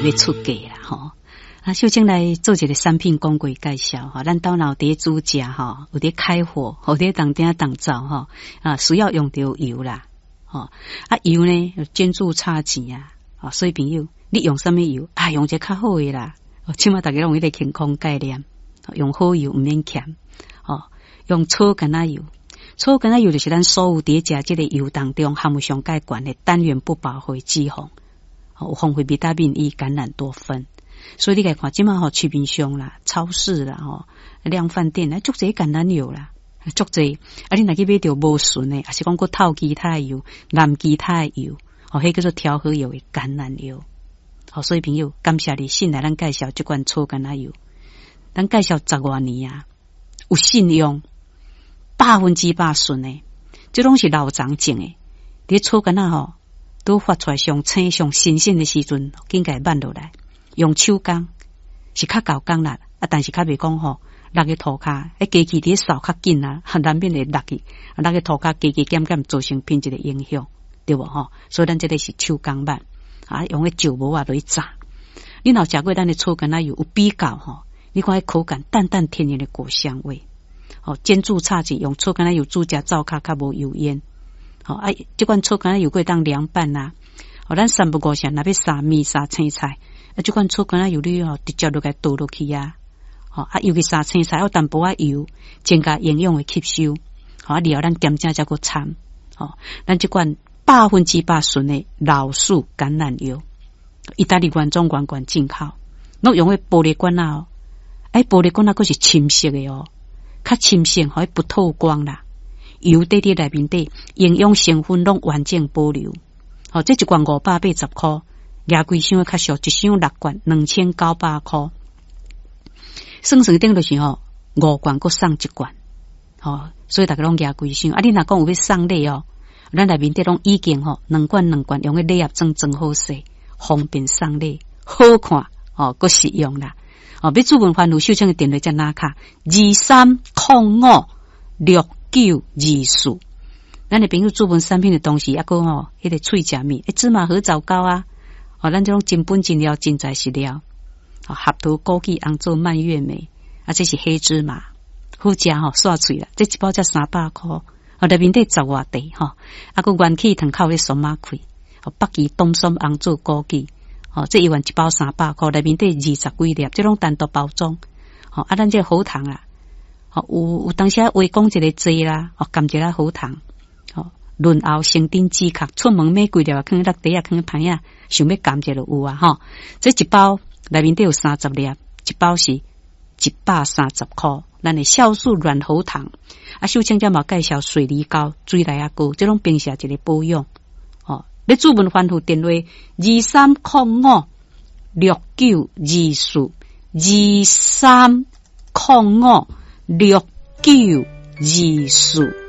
欲出嫁啦吼。啊，秀清來做一個產品廣告介紹吼，咱兜若有佇煮食吼，有佇開火，有佇當鼎當灶吼，啊，需要用著油啦，吼，啊油呢，煎煮炒煎啊，哦，所以朋友，你用啥物油啊？用一个較好的啦，起碼逐家攏有彼個健康概念，用好油毋免儉，哦，用草橄欖油。草橄欖油就是咱所有佇食這個油當中含有上蓋懸的單元不飽和脂肪，有豐富維他命 E、橄欖多酚。所以你共看，這馬吼市面上啦、超市啦、吼量販店啊，足濟橄欖油啦，足濟。啊，你若去買著無純的，抑是講閣透其他的油、淋其他的油，哦，彼叫做調和油的橄欖油。好，所以朋友，感謝你信賴咱介紹這款草橄欖油，咱介紹十外年啊，有信用。100%純的，這攏是老欉種的。佇草橄欖吼，都發出來上青上新鮮的時陣，緊共挽落來，用手工是較厚工力，啊，但是較袂講吼，落去塗跤，彼機器佇掃較緊啊，難免會落去，落去塗跤加加減減造成品質的影響，對無吼？所以咱這個是手工挽，啊，用彼石磨仔落去炸。你若有食過咱的草橄欖油有比較吼？你看彼口感淡淡天然的果香味。哦，煎煮炒煎用草橄欖油煮食，灶跤較無油煙。吼啊，這款草橄欖油閣會當涼拌啊。哦，咱三不五時若欲撒麵撒青菜，啊，這款草橄欖油你吼直接就共倒落去啊。吼啊，尤其撒青菜有淡薄仔油，增加營養的吸收。吼啊，然後咱鹹食才閣摻。吼，咱這款100%純的老樹橄欖油，意大利原裝原罐進口，攏用彼玻璃罐仔哦。哎，玻璃罐仔閣是深色的哦。較深色，予伊不透光啦。油底佇內面底，營養成分攏完整保留。吼，這一罐580箍，舉規箱較俗，一箱六罐，2900箍。算算等於就是吼，五罐閣送一罐。吼，所以逐家攏舉規箱。啊，你若講有欲送禮哦，咱內面底攏已經吼，兩罐兩罐用彼禮盒裝裝好勢，方便送禮，好看，吼，閣實用啦。哦，欲諮詢番號秀清的電話才拿卡23056924。咱的朋友諮詢產品的同時，抑閣吼，彼個喙食物，欸，芝麻核棗糕啊，哦，咱這種真本真料，真材實料。哦，合桃枸杞紅棗蔓越莓，啊，這是黑芝麻，好食吼，煞喙啦。這一包才300箍，哦，內面底十外塊吼，啊，閣元氣糖口的酸仔開，哦，北芪冬筍紅棗枸杞。哦，這一罐一包300箍，內面底二十幾粒，這攏單獨包裝。吼，啊，咱這個喉糖啊，吼，有當時話講一個濟啦，哦，含一個喉糖，吼，潤喉生津止渴，出門買幾粒啊，囥佇袋仔，囥佇旁仔，想欲含一下就有啊，吼。這一包內面底有30粒，一包是130箍。咱的酵素軟喉糖，啊，秀清才嘛介紹水梨膏、水梨仔膏，這攏平時一個保養。欲諮詢番號電話2305692423056924。